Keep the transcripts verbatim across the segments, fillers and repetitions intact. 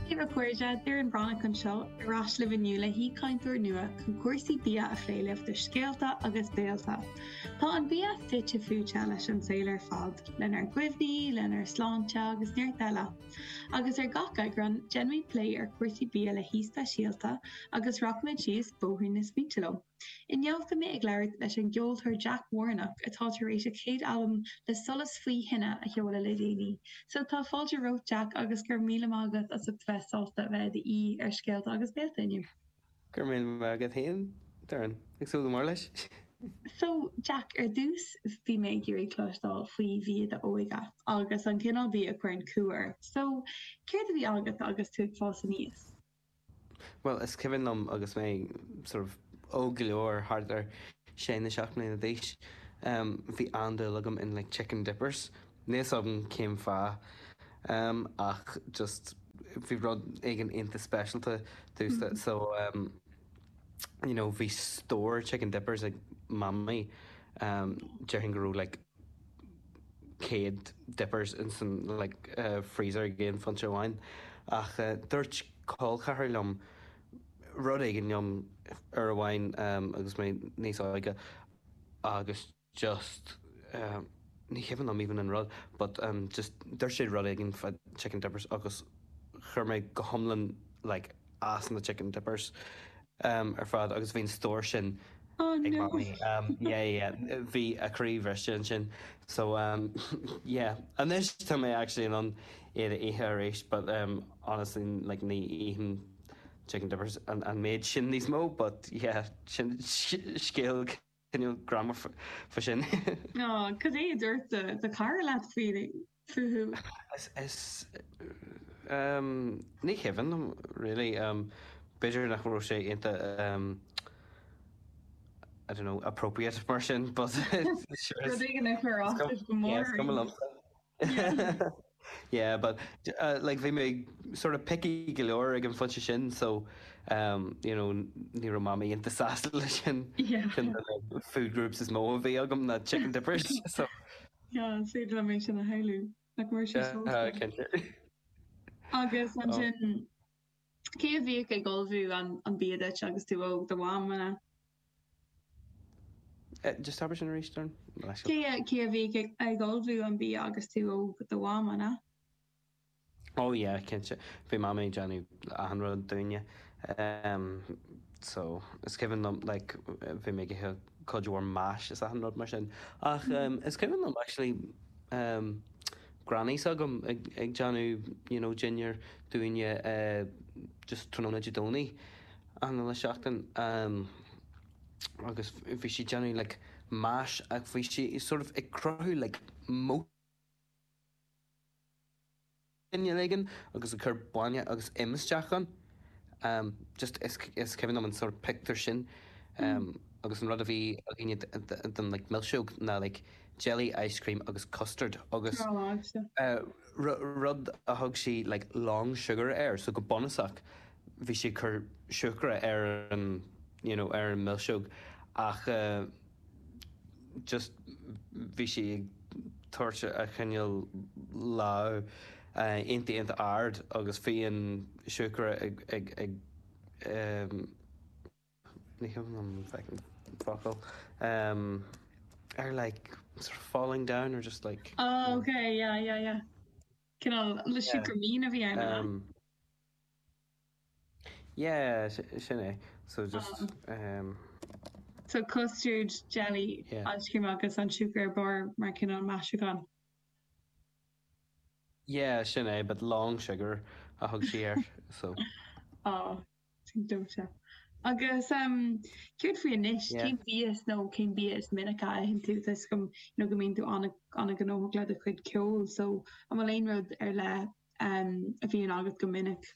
Dia daoibh a chairde, Doireann Breathnach anseo ar ais libh inniu le haoichainteoir nua chun cúrsaí bia a phlé libh do Scéalta agus Béalta. Tá an bia fite fuaite leis an saol ar fad, lenár gcuimhní, lenár sláinte agus neart eile. Agus ar gach eagrán, déanaimid plé ar chúrsaí bia le haoi speisialta agus rachaimid síos bóithrín na smaointe leo. Inniu beidh mé ag labhairt leis an gceoltóir Jack Warnock atá tar éis a chéad albam le solas faoi thine a sheoladh le déanaí. So tá fáilte romhat Jack agus go raibh míle maith agat as ucht bheith sásta a bheith i d'aoi ar Scéalta agus Béalta inniu. Go raibh míle maith agat féin Doireann ag súil go mór leis. So Jack ar dtús bhí mé ag iarraidh cloisteáil faoi bhia d'óige agus an cineál bia a chuireann cumha ort. So céard a bhí agat agus tú ag fás aníos? Well is cuimhin liom agus mé sort of óg go leor thart ar sé nó seacht mbliana d'aois um, bhí an-dúil agam in like chicken dippers. Níl a fhios agam cén fáth um, ach just bhí rud éigin iontach speisialta domhsa so um, you know, bhí stór chicken dippers ag mamaí um, déarfainn go raibh like céad dippers in san like uh, freezer ag aon phointe amháin ach uh, dúirt col ceathar liom rud éigin liom uair amháin um, agus mé níos óige agus just um, ní cuimhin liom even an rud but um, just dúirt sé rud éigin fá chicken dippers agus chuir mé go hiomlán like as na chicken dippers um, ar fad agus bhí an stór sin Oh ag no. mamaí um, yeah, yeah, bhí a croí briste ansin so um, yeah anois tá mé actually in ann iad a ithe arís but um, honestly like ní ithim chicken dippers an, an méid sin níos mó but yeah sin scéal cineál greannmhar fá sin. Oh, cad é a dúirt do do chara leat faoi fúthu? Is is um, ní cuimhin liom really um, b'fhéidir nach raibh sé iontach um, I don't know appropriate mar sin but sure Rud éigin a chuir as duit go yeah, mór. is cuma liomsa. Yeah, but uh, like bhí mé sort of picky go leor ag an phointe sin so um, you know, ní raibh mamaí iontach sásta leis sin Yeah. sin na food groups is mó a bhí agam na chicken dippers so Yeah, is féidir liom é sin a shamhlú. Nach mar sé uh, sósta. cinnte. Agus Oh. ansin cé a bhíodh ag ullmhú an an bia duit agus tú óg do mham an ea? Uh, just abair sin arís Doireann? Cé a cé a bhíodh ag ag ullmhú an bia agus tú óg do mham an ea? Oh yeah, cinnte. Bhí mamaí ag déanamh achan rud dúinne. Um, so is cuimhin liom like bhí mé ag ithe cuid mhór mash is achan rud mar sin. Ach um, is cuimhin liom actually um, granny s'agam ag, ag déanamh you know, dinnéar dúinne uh, just tráthnóna Dé Domhnaigh an le seachtain um, agus bhí sí déanamh like mash ach bhí sí sort of ag cruthú like moat éigin agus ag cur bainne agus im isteach ann. Um, just is, is cuimhin liom an sort of picture sin um, agus an rud a bhí againne den like milseog ná like jelly ice cream agus custard agus uh, rud a thug sí like long sugar air so go bunúsach bhí sí cur siúcra ar an you know, ar an milseog ach uh, just bhí sí ag tabhairt a cineál lá uh, iontach iontach ard agus bhí an siúcra ag ag ag um, ní an an focal um, ar like sort of falling down or just like Oh, okay, yeah, yeah, yeah. Cineál le siúcra mín a bhí ann um, yeah sin é so just um, So custard jelly Yeah. ice cream agus an siúcra ar barr mar cineál maisiúchán. yeah sin é but long sugar a thug sí air so Á sin dóite. Agus um, céard faoi anois Yeah. cén bia nó cén bia is minice a itheann tú is go nó go mbíonn tú an-ghnóthach le do chuid ceoil, so an bhfuil aon rud ar leith um, a bhíonn agat go minic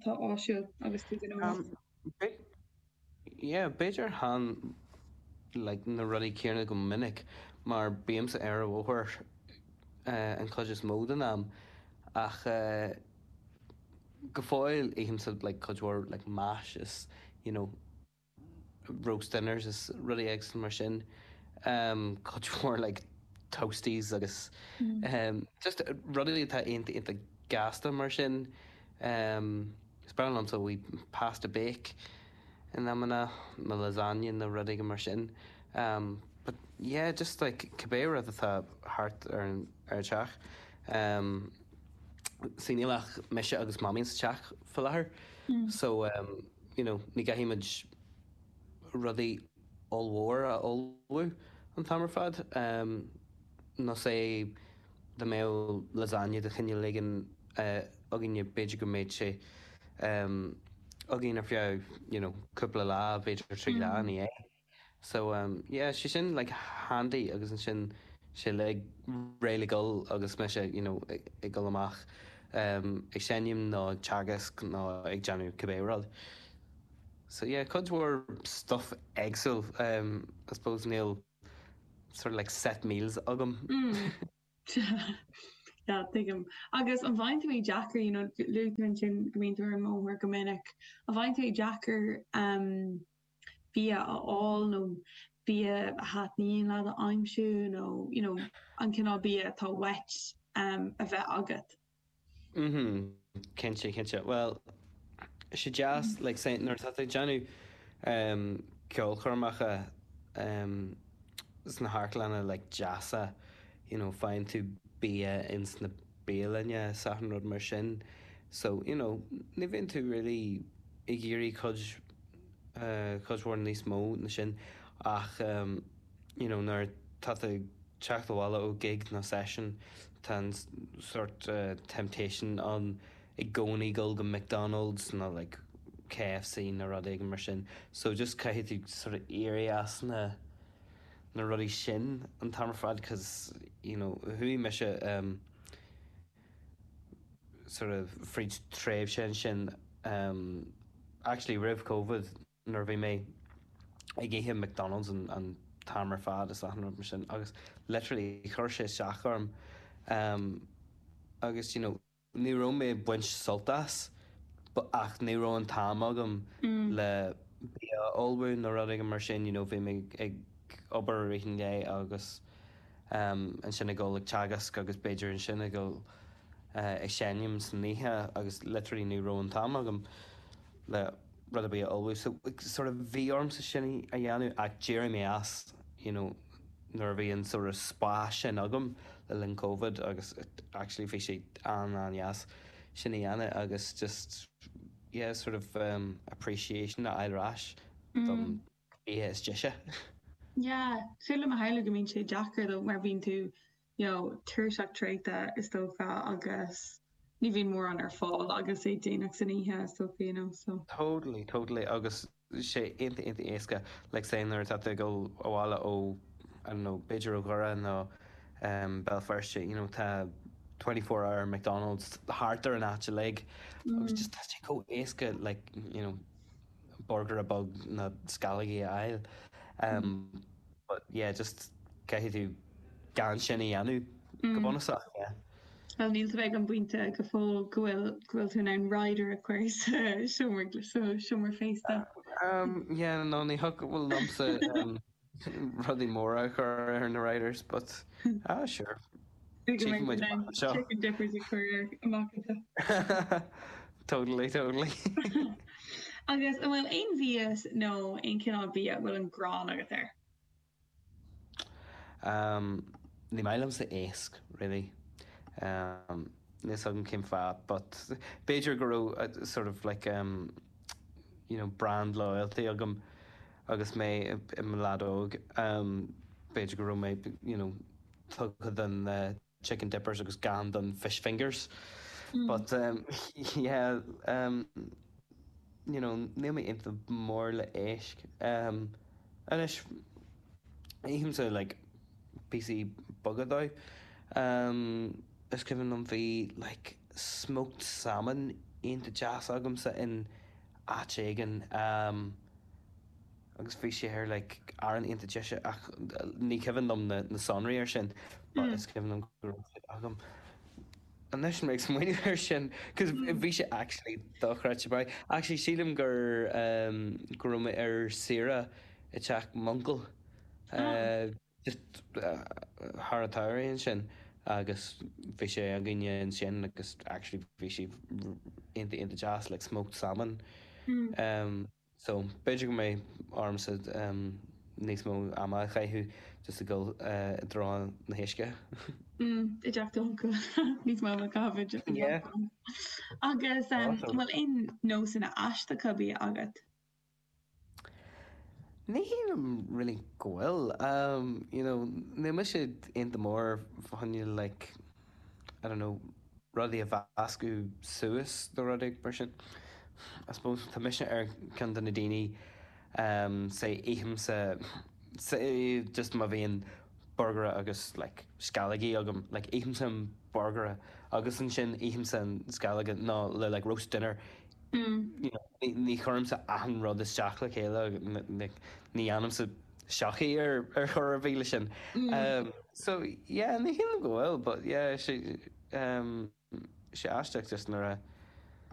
Tá áisiúil agus tú gnóthach. Um, be- yeah, b'fhéidir chan like na rudaí céanna go minic mar bímse ar an bhóthar uh, an chuid is mó den am ach uh, go fóill ithimse like cuid mhór like mash is you know roast dinners is rudaí éagsúla mar sin um, cuid mhór like toasties agus Mm. um, just rudaí atá iontach iontach gasta mar sin Um, is breá liomsa wee pasta bake in amanna nó lasagne nó rudaí mar sin. Um, but yeah, just like cibé rud atá thart ar an ar an teach. Um, sí níl ach mise agus mamaí sa teach faoi láthair. Mm. So um, you know, ní gcaithfimid rudaí ollmhór a ullmhú an t-am ar fad. Um, nó sé dá mbeadh lasagne de chineál éigin uh, againne b'fhéidir go mbeadh sé um, againn ar feadh you know, cúpla lá b'fhéidir trí lá Mm. ní é. So um, yeah, sé sin like handy agus ansin sé le réidh le dul agus mise you know, ag, ag dul amach um, ag seinm nó ag teagasc nó ag déanamh cibé rud. So yeah, cuid mhór stuff éagsúil um, I suppose níl sort of like set meals agam. Mm. Yeah, tuigim. Agus an bhfaigheann tú é deacair you know, luaigh tú ansin go mbíonn tú ar an mbóthar go minic. An bhfaigheann tú é deacair um, bia a fháil nó bia a thaitníonn leat a aimsiú nó you know, an cineál bia atá uait um, a bheith agat. Mhm. Cinnte cinnte. Well, sé deas like say nuair atá tú ag déanamh um, ceolchoirmeacha um, sna hamharclanna like deasa, you know, faigheann tú bia ins na bialanna is achan rud mar sin. So, you know, ní bhíonn tú really ag iarraidh cuid uh, cuid mhór níos mó ná sin ach um, you know, nuair tá tú ag teacht abhaile ó gig nó session tá an s- sort uh, temptation ann i gcónaí dul go McDonald's nó like KFC nó rud éigin mar sin. So just caithfidh tú sort of éirí as na na rudaí sin an t-am ar fad cause you know, chuaigh mise um, sort of fríd tréimhse ansin um, actually roimh COVID nuair a bhí mé ag ithe McDonald's an, an t-am ar fad is achan rud mar sin agus literally chuir sé isteach orm um, agus you know, ní raibh mé ag baint sult as but ach ní raibh an t-am agam Mm. le bia a ullmhú nó rud éigin mar sin you know, bhí mé ag obair i rith an lae agus um, ansin ag dul ag teagasc agus b'fhéidir ansin ag dul uh, ag seinm san oíche agus literally ní raibh an t-am agam le rud ar bith a ullmhú. So sort of bhí ormsa sin a dhéanamh ach d'éirigh mé as you know, nuair a bhí an sort of spás sin agam le linn COVID agus it, actually bhí sé an an-deas sin a dhéanamh agus just yeah, sort of um, appreciation a fháil ar ais don bia is deise. Yeah, Sílim a shamhlú go mbíonn sé deacair though mar bhíonn tú you know, tuirseach traochta is dócha agus ní bhíonn mórán ar fáil agus é déanach san oíche is dócha you know, so. Totally, totally agus sé iontach iontach éasca like say nuair atá tú ag dul abhaile ó I don't know, b'fhéidir ó Dhoire nó um, Béal Feirste, you know, tá twenty four hour McDonald's thart ar an áit uilig agus just tá sé chomh éasca like, you know, burger beag nó sceallógaí a fháil. Um, but yeah, just caithfidh tú gan sin a dhéanamh go bunúsach, yeah. Well níl tú ag an bpointe go fóill go bhfuil go bhfuil tú in ann rider a chur sa seomra sa seomra féasta. Um, yeah, no, ní thiocfadh liomsa um, rudaí móra a chur ar na riders, but ah, sure. Chicken chicken dippers a chur ar amach anseo. Totally, totally. Agus an bhfuil aon mhias nó aon cineál bia a bhfuil an ghráin agat air? Um, ní maith liomsa éisc, really. Um, níl a fhios agam cén fáth, but b'fhéidir go raibh uh, sort of like um, you know, brand loyalty agam agus mé i mo leaid óg. Um, b'fhéidir go raibh mé you know, tugtha don uh, chicken dippers agus gan don fish fingers. Mm. But um, yeah, um, you know, níl mé iontach mór le éisc. Um, anois ithimse like píosaí beaga dó. Um, is cuimhin liom bhí like smoked salmon iontach deas agamsa in áit éigin um, agus bhí sé ar like arán iontach deise ach ní cuimhin liom na, na sonraí ar sin, but Mm. is cuimhin liom go raibh sé agam. Anois mé ag smaoineamh ar sin, cos bhí sé actually dochreidte maith. Actually sílim gur um, go raibh mé ar saoire i teach m'uncail. Ah. Uh, just uh, thar an tsamhradh ansin agus bhí sé againne ansin agus actually bhí sé iontach iontach deas like smoked salmon. Mm. Um, so b'fhéidir go mbeidh ormsa um, níos mó ama a chaitheamh just ag dul uh, i dtreo na héisce. Mm, i dteach d'uncail níos mó a chaitheamh Yeah. Agus um, Awesome. bhfuil aon nósanna aisteacha bia agat? Ní shílim really go bhfuil. Um, you know, níl mise iontach mór fá choinne like I don't know, rudaí a mheascadh suas nó rudaí mar sin. I suppose tá mise ar ceann de na daoine um, say ithimse say just má bhíonn burger agus like sceallógaí agam like ithimse an burger agus ansin ithimse an sceallóga nó le like roast dinner Mm. you know, ní ní chuirimse achan rud isteach le chéile ní ní dhéanaimse seachaí ar ar chor ar bith leis sin. Mm. Um, so yeah, ní shílim go bhfuil, but yeah, sé um, sé aisteach just nuair a